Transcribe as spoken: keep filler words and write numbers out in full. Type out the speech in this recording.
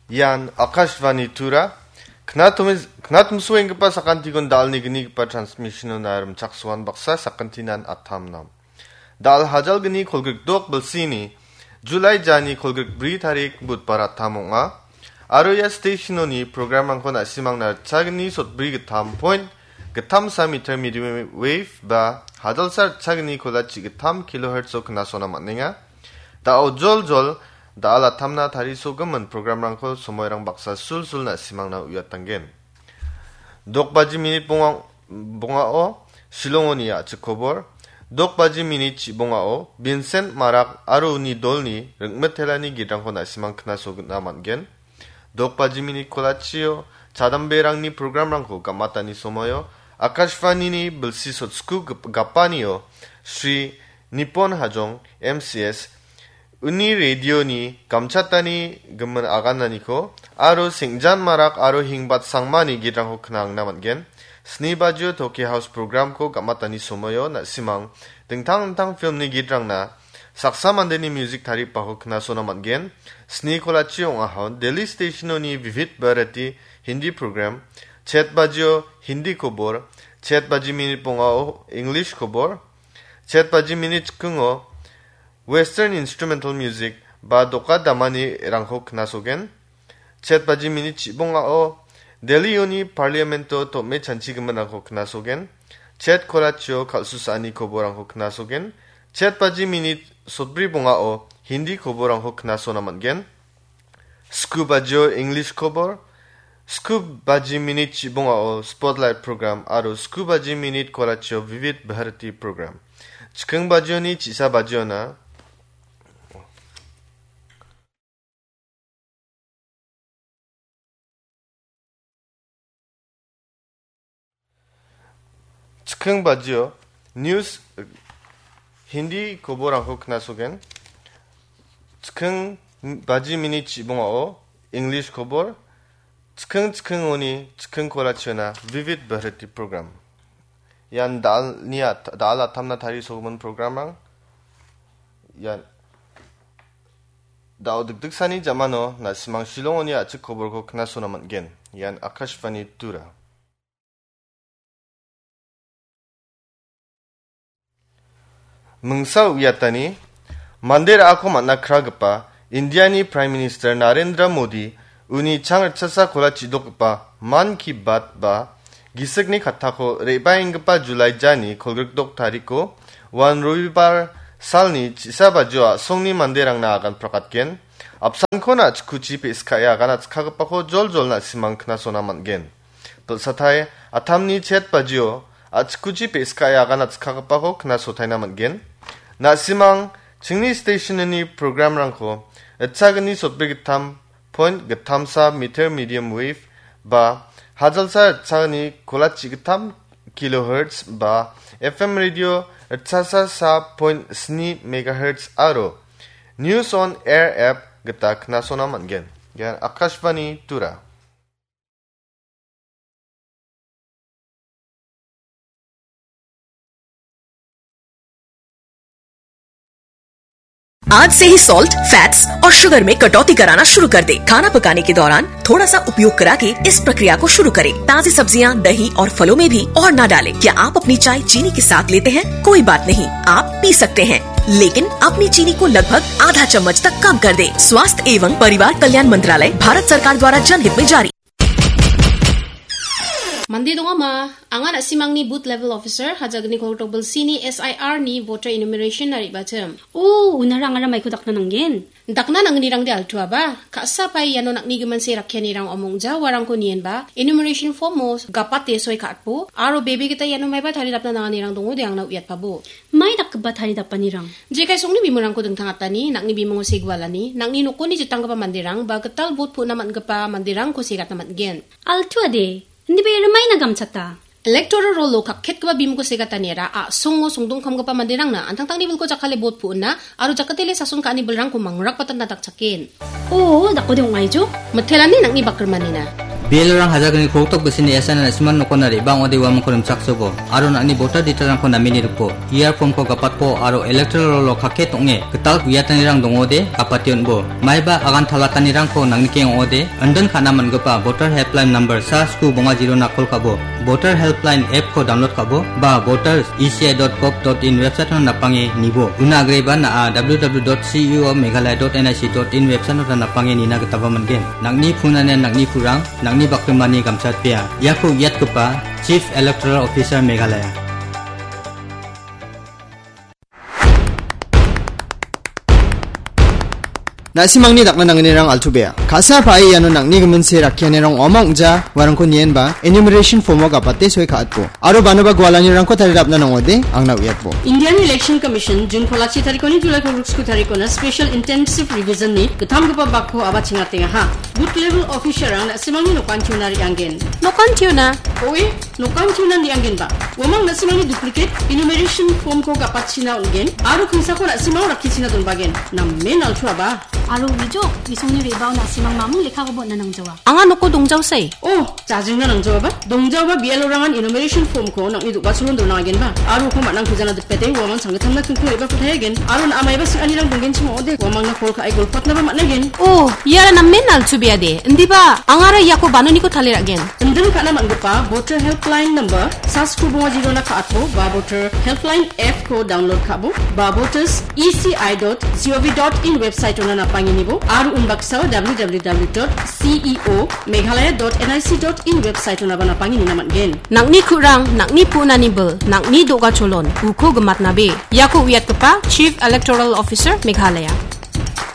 Ian Akashvani Tura. Knatomis-, knatomsoenggipa sakantikon dalni gnigipa transmission-ona rimchaksoan baksa sakantinan atamnam. Dal hajalgni kolgrikdok bilsini, July jani kolgrikbri tarik Budbar atam ong·a. Aro ia station-oni program-rangko na·simangna ritchagni sotbri gittam point gittamsa meter medium wave ba hajalsa ritchagni kolachi gittam kilohertz-o knasona man·enga. Da·o joljol, da·al atamna tarisogimin program-rangko somoirang baksa sulsul na·simangna uiatanggen. Dok baji minit bonga-, bongao Shillongoni a·chik kobor. Dok baji minit chibongao Vincent Marak aro uni dolni ringmitelani gidrangko na·simang knasogna man·gen. Dok baji minit kolachio chadamberangni program-rangko gamatani somoio Akashvanini bilsi sotsku gip-, gapanio Shri Nipon Hajong M C S uni radioni gamchatani gimin agananiko aro Sengjan Marak aro Hingbat Sangmani gidrangko knangna man·gen. Sni bajio Tokyo House program-ko gamatani somoio na·simang dingtang dingtang film-ni gidrangna saksa mandeni music taripako knasona man·gen. Sni kolachi ong·ahon Delhi station-oni Vividh Bharati Hindi program, chet bajio Hindi kobor, chet baji minit bongao English kobor, chet baji minit chikingo Western Instrumental Music ba doka damani rangko knasogen. Chet baji minit chibongao Delhi-oni Parliament-o tom·e chanchigiminrangko knasogen. Chet kolachio kal·susaani koborangko knasogen. Chet baji minit sotbri bongao Hindi koborangko knasona man·gen. Sku bajio English kobor, sku baji minit chibongao Spotlight program aro sku baji minit kolachio Vividh Bharati program. Chiking bajioni chisa bajiona, chiking bajio news, Hindi koborangko knasogen. Chiking baji minit chibongao English kobor. Chiking chikingoni chiking kolachiona Vividh Bharati program. Ian dalni at-, dal atamna tarisogimin program-rang. Ian da·o dikdiksani jamano na·simang Shillongoni a·chik koborko knasona man·gen. Ian Akashvani Tura. Mingsa uiatani, mande ra·ako man·a kragipa Indiani Prime Minister Narendra Modi uni chang ritchasa kola chidokgipa Mann Ki Baat ba gisikni kattako re·baenggipa July jani kolgrikdok tariko uan Robibar salni chisa bajio a·songni manderangna agan prakatgen. Apsanko na·chikuchi pe·skae agan atskagipako joljol na·simang knasona man·gen. Bilsatai atamni chet bajio a·chikuchi pe·skae agan atskagipako knasotaina man·gen. Na·simang chingni station-ni program-rangko ritchagni sotbri gittam point gittamsa meter medium wave ba hajalsa ritchagni kolachi gittam kilohertz ba F M radio ritchasa sa point sni megahertz aro News on Air app gita knasona man·gen. Ian Akashvani Tura. आज से ही salt, fats और शुगर में कटौती कराना शुरू कर दे। खाना पकाने के दौरान थोड़ा सा उपयोग करा के इस प्रक्रिया को शुरू करें। ताजी सब्जियां, दही और फलों में भी और ना डालें। क्या आप अपनी चाय चीनी के साथ लेते हैं? कोई बात नहीं, आप पी सकते हैं, लेकिन अपनी चीनी को लगभग आधा चम्मच तक कम कर दें। स्वास्थ्य एवं परिवार कल्याण मंत्रालय, भारत सरकार द्वारा जनहित में जारी। Mande dongama, anga na·simangni booth level officer, hajagni kolgrikdok bilsini S I R ni voter enumeration-na re·bachim. O, unara angara maiko dakna nanggen? Dakna nangnirangde altuaba, ka·sa pai iano nakni giminse rakkianirang omongja uarangko nienba, enumeration form-o gapate soi ka·atbo, aro bebe gita iano maiba taridapna nanganirang dongode angna uiatpabo. Mai dakgipa taridapanirang? Jekai songni bimungrangko dingtangatani, nakni bimungo segualani, nakni nokoni jitanggipa manderang, ba gital bot pu·na man·gipa manderangko segatna man·gen. Altuade, indiba ia rimaina gamchata. Electoral roll-o kakketgipa bimungko segataniara a·songo songdongkamgipa manderangna an·tangtangni bilko jakkale bot pu·na aro jakatele sason ka·ani bilrangko mangrakbatatna dakchaken. O, dakode ong·aijo? Mitelani nang·ni bakrimanina. B L O-rang hajalgni krongtok bisini S I N-na na·simangni nokona re·baa ong·ode uamangko rimchaksobo, aro nang·ni voter detail-rangko nameni riko, E R form-ko gapatko aro electoral roll-o kake tong·e gital uiatanirang dongode gapate on·bo. Maiba agan talatanirangko nangnikeng ong·ode, indin ka·na man·gipa voter helpline number sa sku bonga zero-na kol ka·bo, voter helpline app-ko download ka·bo, ba voters E C I dot gov dot in website-ona napange nibo. Una agreba na·a W W W dot C E O Meghalaya dot N I C dot in website-ota napange nina gitaba man·gen. Nang·ni punanian nang·ni purang, nang·ni bakrimani gamchatpea. Iako uiatgipa Chief Electoral Officer Meghalaya. Na·simangni dakna nangnirang altu bea. Ka·sa pa·e iano nang·ni giminse rakkianirang ong·a ong·ja uarangko nienba enumeration form-o gapate soi ka·atbo. Aro banoba gualanirangko tarirapna nang·ode angna uiatbo. Indian Election Commission June kolachi tarikoni July kolgriksku tarikona Special Intensive Revision-ni gittamgipa bakko aba chingatengaha. Booth level officer-rang na·simangni nokantiona re·anggen. Nokantiona? Oe, nokantiona re·anggenba. Uamang na·simangni duplicate enumeration form-ko gapatchina on·gen, aro kingsako na·simang rakkichina donbagen. Namen altuaba. Aro wijok, gisongni re·bao na·simang mamung lekkakoba on·na nangjawa. Anga noko dongjaosai. Oh, jajingna nangjaoaba? Dongjaoaba B L O-rangan enumeration form-ko nang·ni do·gacholon dona agenba. Aro uko man·ang pujana dipete, uamang sanggittamna kingko re·bako tayagen. Aro na·a maiba sing·anirang donggenchim ong·ode, uamangna kol ka·e golpatnaba man·agen. Oh, iara namen altubeade. Indiba, angara iako banoniko taliragen. Indin ka·na man·gipa voter helpline number sa sku bonga zero-na ka·atbo, ba voter helpline app-ko download ka·bo, ba voters E C I dot G O V dot in website-ona napangenibo, aro unbaksao W W W dot C E O Meghalaya dot N I C dot in website-onaba napangeni na man·gen. Nang·ni ku·rang, nang·ni punani bil, nang·ni do·gacholon, uko gimatnabe. Iako uiatgipa Chief Electoral Officer Meghalaya.